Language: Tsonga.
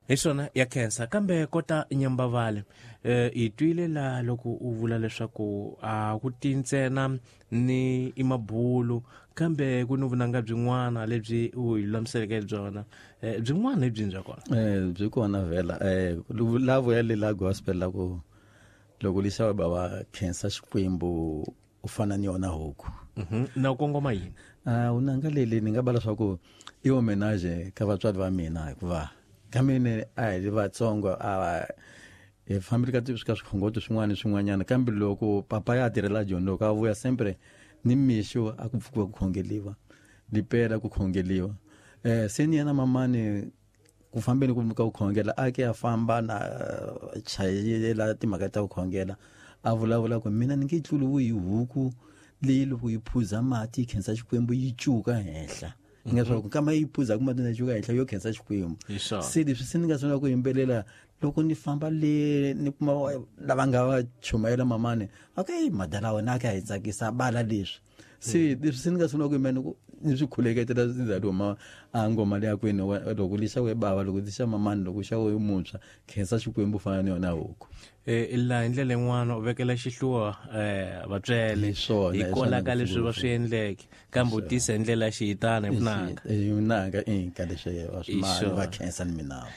Hi swona ya khensa kambe kota nyambavale hi twile la loko u vula leswaku a ku ti ntsena ni i mabulu kambe ku ni vunanga byin'wana lebyi u hi lulamiseleke byona. Byin'wana hi byini bya kona? Byi kona vhela. La vuya le la gospel la ku loko lixava bava khensa Xikwembu u fana ni yona huku. Na u kongoma yini? Vunanga leli ni nga va leswaku i homenage ka vatswari va mina, hikuva ka mina a hi ri vatsongo, a hi fambile ka ka swikhongoto swin'wana ni swin'wanyana, kambe loko papa ya tirhela Joni, loko a vuya sempre ni mixo a ku pfukiwa ku khongeliwa, lipela ku khongeliwa. Se ni yena mamani ku fambeni ku ka ku khongela a ke a famba na chayela timhaka ta ku khongela, a vulavula ku mina ni nge tluriwi hi huku leyi loko yi phuza mati yi khensa Xikwembu yi cuka henhla. Ni nga swa ku kama yi phuza ku mati na cuka henhla yo khensa Xikwembu. Se leswi se ni nga sungula ku yimbelela loko ni famba le ni kuma lava nga va chumayela mamani, okay, madala wena a ka hi tsakisa bala leswi. Se leswi se ni nga sungula ku yimbelela ni ku ni swi khuleketela ndzhaku huma a ngoma leya kwini, loko lixa we bava, loko lixa mamani, loko xa we muntshwa, khensa Xikwembu fana ni yona huku. Laha hi ndlela yin'wana u vekela xihluva vatswele Hi swona, hi hi kwala swona ka leswi va ngopfu. swi endleke, kambe u tisa hi ndlela ya xihitana hi vunanga. Hi vunanga, ka leswi va swi Hi mali, swona. va khensa ni mina.